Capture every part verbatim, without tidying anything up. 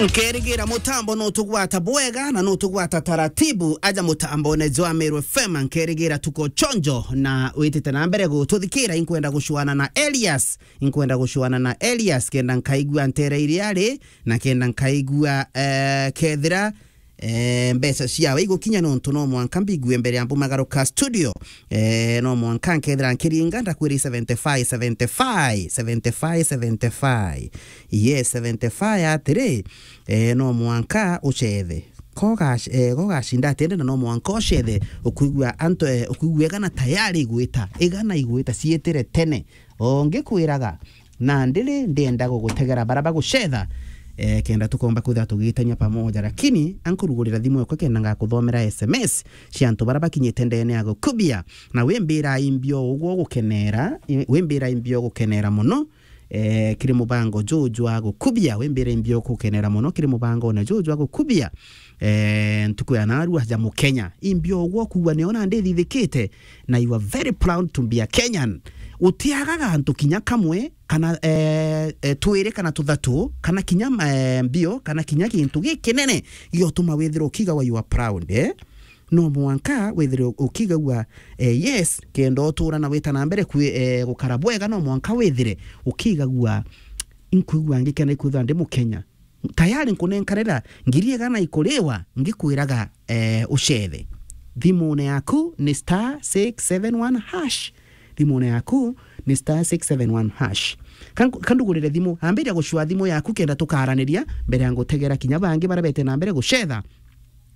Nkerigira mutambo nutugwata bwega na nutugwata taratibu. Aja mutambone jwa Meru F M, nkerigira tuko chonjo na witite na mbere gututhikira. Inkwenda gucwana na Elias, inkwenda gucwana na Elias, kenda nkaigua ntere iria ari, na kenda nkaigua, eh, kethira, eh, mbeca ciawe igukinya, nontu no mwanka mbigue mbere ya mbumagaruka studio. Eh, no mwanka nkethira nkiringa, ndakwiri seventy-five, seventy-five, seventy-five, seventy-five. Yes, seventy-five atiri, eh, no mwanka ucethe. Ko gac-, eh, ko gacinda atende na no mwanka ucethe, ukwigua antu, eh, ukwigua igana tayari igwita, igana igwita ciitire tene. O ngikwiraga, na ndiri ndienda gugutegera bara bagucetha, eh, kenda tukomba kwithira tugitania pamoja, lakini ankurugurira thimu yakwa kenda ngakuthomera S M S cia antu bara bakinyite ndene ya gukubia, na wimbira imbio ugwo gukenera, i-, wimbira imbio gukenera muno, eh, kiri mubango juju jwa gukubia, wimbira imbio gukenera muno kiri mubango na juju jwa gukubia, eh, ntuku ya narua ja Mukenya. Imbio ugwo kuwa niona ndithithikite, na you are very proud to be a Kenyan. Utiagaga antu kinya kamwe, kana, eh, eh, twiri kana tuthatu, kana kinya, eh, mbio, kana kinya gintu gikinene giotuma withirwa ukiga wa you are proud, eh? No mwanka withire ukigagua, eh, yes, kenda utura na wita na mbere kwi-, eh, gukara bwega, no mwanka withire ukigagua, inkwigua ngikena ikwithwa ndi Mukenya. Tayari nkunenkanira ngiri igana ikuriwa, ngikwiraga, eh, ucethe. Thimune yaku ni star six seven one hash. Thimune yaku ni star six seven one hash. Kan-, kandugurire thimu, ambiria gucua thimu yaku kenda tukaraniria mbere ya ngutegera kinya bangi bara bete na mbere gucetha.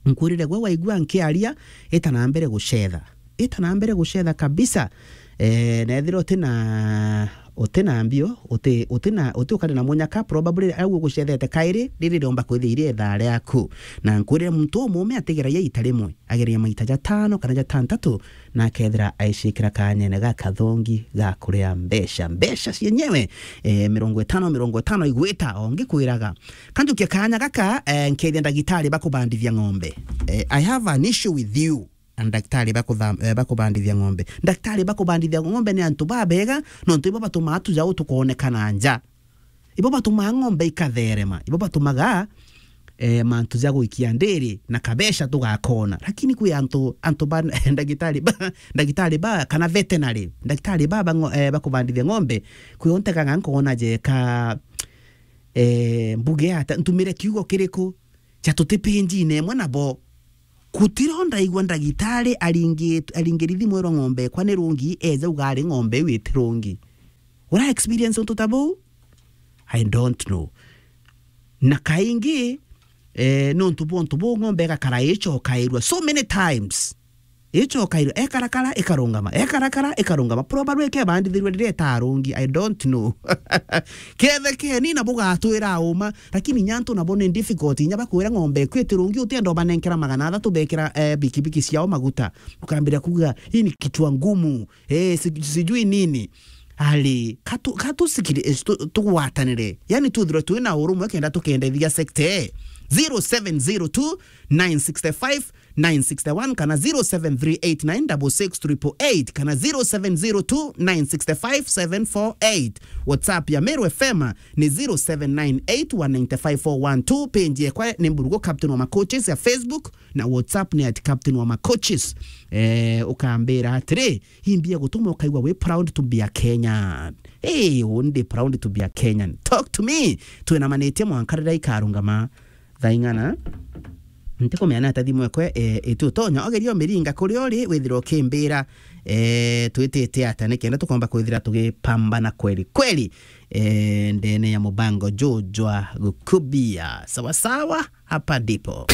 Nkwirire gwe waigua nkiaria, ita na mbere gucetha. Ita na mbere gucetha kabisa. Eh, na ethira uti na, uti na mbio, uti, uti na, uti ukari na munyaka, probably au ugucethete kairi, riri riomba kwithira iri ithaa riaku. Na nkwirire muntu umume atigeragia ita rimwe, ageria maita jatano kana jatantatu, na akethira aicikira kanyene ga kathongi ga kuria mbeca. Mbeca cienyewe, eh, mirongo itano, mirongo itano igwita, o ngikwiraga. Kanjukia kanya gaka, eh, nkethia ndagitari bakubandithia ng'ombe. Eh, I have an issue with you. Na ndagitari bakutha-, eh, bakubandithia ng'ombe. Ndagitari bakubandithia ng'ombe ni antu babega, nontu ibo batumaa tuja tukonekana nja. Ibo batumaa ng'ombe ikatherema. Ibo batumaga, eh, mantu ja gwikia ndiri na kabeca tugakona. Lakini kwi antu, antu ba ndagitari ba, ndagitari ba, kana veterinary, ndagitari ba, ba ngo-, eh, bakubandithia ng'ombe, kwi o ntegaga nkona jeka, eh, mbuge ata, ntumire kiugo kiriku? Ja tuti page-ine imwe nabo. Gutiro ndaigua ndagitari aringi-, aringiri thimu erwa ng'ombe ekwa ni rungi, eja uga ari ng'ombe iu iti rungi. Ura experience untu ta buu? I don't know. Na kaingi, eh, nontu bwa untu buu ng'ombe igakara icokairua so many times. Icokairua, ekarakara, ikarungama, ekarakara, ikarungama. Probably ikebandithirua riria itarungi, I don't know. Kethekeni na bugatwira uma, lakini inya antu nabo ni difficult, inya bakwira ng'ombe iku iti rungi, utienda ubanenkera magana athatu bekira, eh, bikibiki ciao maguta. Ukambira kuga, "Hii ni kichwa ngumu, eh, si-, sijui nini." Ari, katu-, katusikiri-, eh, tu-, tugwatanire. Yani, twithirwe twina urumwe kenda tukendethia sector, eh. Zero seven zero two nine six five nine six one kana zero seven three eight nine six six triple eight kana zero seven zero two nine six five seven four eight. WhatsApp ya Meru F M ni zero seven nine eight one nine five four one two. Page yekwa ni Mburugu Captain wa Macoaches ya Facebook, na WhatsApp ni at Captain wa Macoaches. Eh, ukambira atiri, imbia gutuma ukaigua wi proud to be a Kenyan. Hey, undi proud to be a Kenyan. Talk to me. Twinamanitie mwanka riria ikarungama thaa ing'ana. Ntikumenya ni ata thimu ekwe, eh, iti utonya. Ogeria umiringa kuria uri, withira ukimbira, eh, twitite ata, nikenda tukomba kwithira tugipambana kweli kweli, eh, ndene ya mubango juju jwa gukubia. Sawa sawa, hapa ndipo.